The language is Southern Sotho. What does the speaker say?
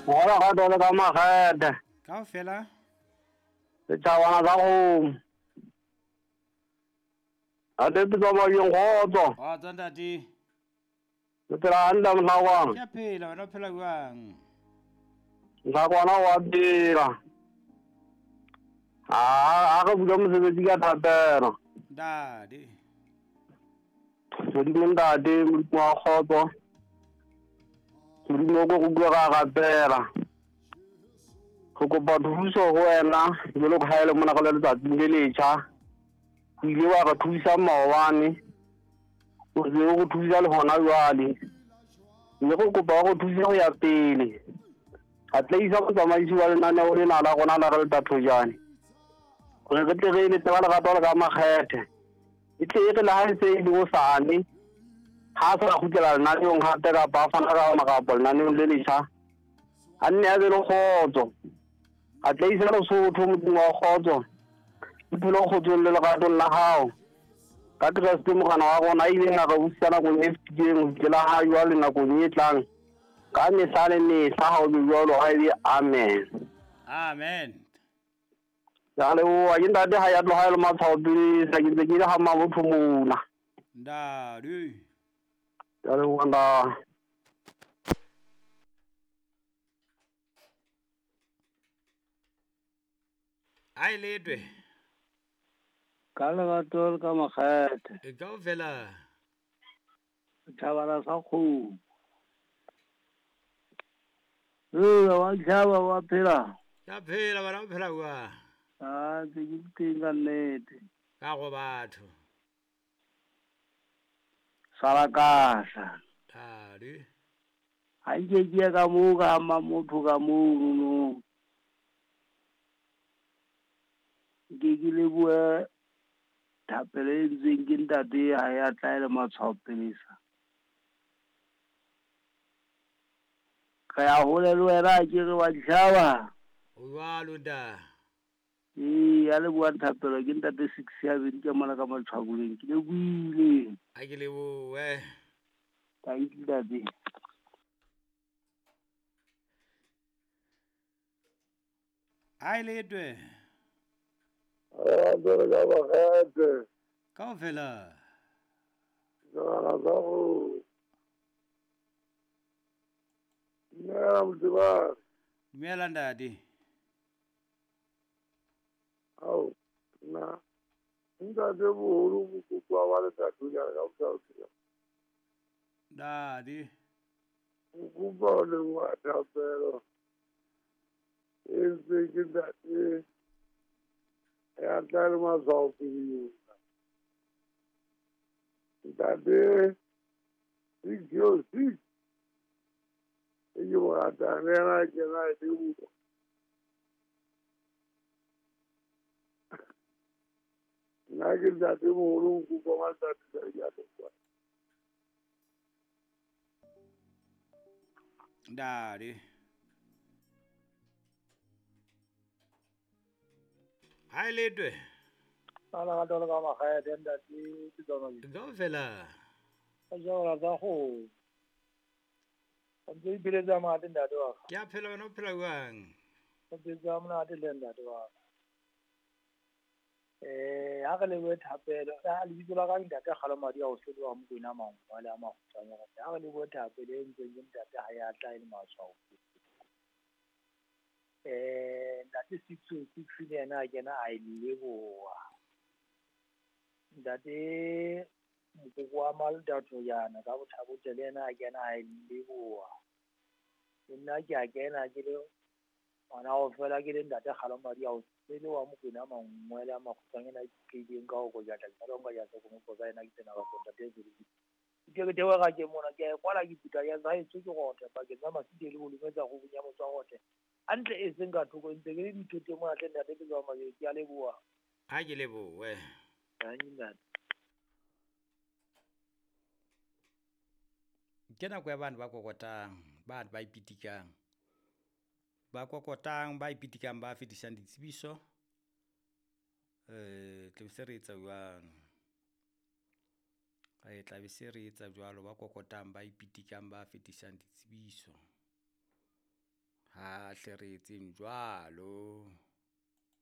Hola ga dole ka makgethe. Kaofela. Setšhabana sa kgomo. Ate ke tsa mabjeng kgotso. Kgotso ntate. Ke phela hantle mohlakwana. Ke a phela, wena o phela jwang? Mohlakwana wa phela. A re bula mosebetsi ka thapelo. Ntate. Modimo ntate, Modimo wa kgotso. Modimo o ko go bua ka rapela. Re kopa thuso ho wena jwalo ka ha e le mona re le letsatsing le letjha. O ile wa re thusa maobane, o se o re thusa le hona jwale. Mme re kopa o re thuse ho ya pele. Atleisa motsamaisi wa lenaneo lena la rona la re le Thojane. Gore re tle re eletse ka lerato le ka makgethe. E tle e re le ha e se e le hosane, ha a sa kgutlela lenaneong hape kapa a fana ka marapo lenaneong le letjha, a nne a be le kgotso. Atleisa Lesotho, Modimo wa kgotso, le phele kgotsong le leratong la hao. Ka Kreste Morena wa rona, a ileng a re busa nakong e fetileng ho fihlela ha jwale nakong e tlang, ka mehla le mehla, ha ho be jwalo, ha e be amen. Amen. Ke a leboha. Ke ntate ha ya tloha e le matshwao pele sa ke ntse ke le ha mabotho mona. Ntate. Ke a leboha ntate. A e letwe. Ka lerato le ka makgethe. E kaofela. Setjhabana sa kgomo. Ee, wa tjhaba wa phela. Ke a phela bana o phela jwang? A ntse ke teng ka nnete. Ka go batho. Sala kahla. Thadi. Ha nke ke ya ka moo ka ama motho ka mono. Nke ke lebohe thapelo e entsweng ke ntate ha ya tla e le matshwao pelesa. Re ya hole le wena ke re wa ditjhaba. O jwalo nta. Ee, ya leboha thapelo ke ntate 6 ya bedi ka mona ka matshwaboleng. Ke lebohile. A ke lebohe. Thank you ntate. A e letwe. Kaofela. Dumela ntate. Ao, nna ntate boholo mokoko wa letatonyana ka botlhalosa. Ntate. Mokopa o leboha thapelo e entsweng ke ntate ya tla le matshwao pele. Ntate 606 e ke mo ratang le yena ke na e leboha. Nna ke ntate moholo mokoko wa ntate ke a leboha. Ntate. Ha e letwe. Ka lerato le ka makgethe ntate ke tsona. Kaofela. Ka jala tsa kgomo. Ntse e pheletsa monate ntate wa ka. Ke a phela wena o phela jwang? O pheletsa monate le ntate wa ka. Ha re lebohe thapelo, ha lebitso la ka ntate Kgalomadi a o hloloha Mokwena Mangwa le a makgutshwanyane. Ha re lebohe thapelo e entsweng ke ntate ha ya tla e le matshwao. Ntate 606 le yena a kena a e leboha. Ntate mokoko wa Maldathojana ka Bothabotle le yena a kena a e leboha. Le nna ke a kena ke le ngwana ho fela ke le ntate Kgalomadi a o le wa Mokwena Mangwa le a makgutshwanyane a ikeileng ka ho kojatla jalo nka ja kopo tsa yena ke tsena ka ntate Zulu. Ke ke theoha ka ke mona ke a e kwala ke puta ya zaetso ke rothe pakeng tsa Masite le Bolumetsa go bunya motswa rothe. Hantle e seng ka thoko ntse ke le dithoteng mona tle ntate ke tswa Mabedi ke a leboha. Ha ke lebohe. Ntate. Ke nako ya bana ba kokotang, bana ba ipitikang. Ba kokotang, ba ipitikang, ba fetisang ditsebiso. Tla be se re etsa jwalo. Tla be se re etsa jwalo, ba kokotang, ba ipitikang, ba fetisang ditsebiso. Ha hle re etseng jwalo.